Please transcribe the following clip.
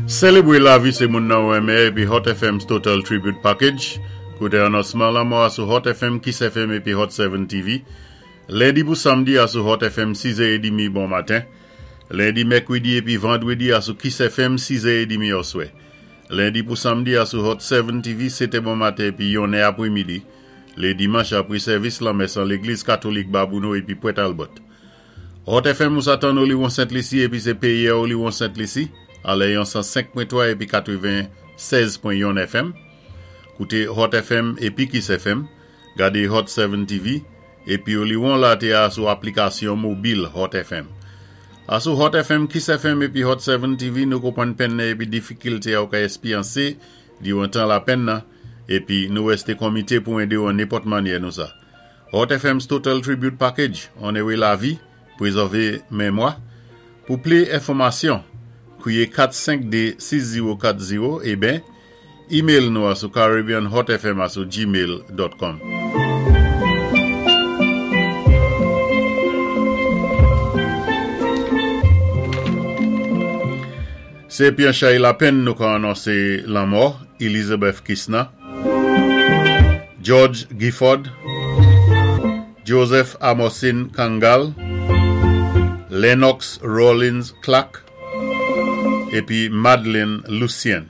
Selébwé lavi sé moun nan ou renmen épi Hot FM's Total Tribute Package. Kouté anonsman lanmò a sou Hot FM, Kiss FM épi Hot 7 TV. Lendi pou samdi a sou Hot FM 6 è edimi bon maten. Lendi, mèkwédi épi vandwédi a sou Kiss FM 6 è edimi òswè. Lendi pou samdi a sou Hot 7 TV 7 è bon maten épi 1 è apwémidi. Lé dimanch apwé sèvis lanmès an légliz katolik Babouno épi Pwent Albert. Hot FM ou sa tann Oliwon Sent Lisi épi sé péyi a Oliwon Sent Lisi alè yon 105.3 épi 96.1 FM. Kouté Hot FM épi Kiss FM, gadé Hot 7 TV, épi Oliwon la té a sou aplikasyon mobil Hot FM. A sou Hot FM, Kiss FM épi Hot 7 TV nou konpwann penn nan épi difikilté a ou ka èspyansé diwan tan lapenn nan épi nou rèsté konmité pou édé ou an nenpòt mannyè nou sa. Hot FM's Total Tribute Package, Onoré lavi, Pwézèvé menmwa. Pou pli enfòmasyon, kwiyé 452 6040 eben email nou a sou caribbeanhotfm a sou gmail dot com. Sé épi an chay lapenn nou ka anonsé lanmò Elizabeth Kisna, George Gifford, Joseph Amosin Kangal, Lennox Rawlins Clark, épi Madeline Lucien.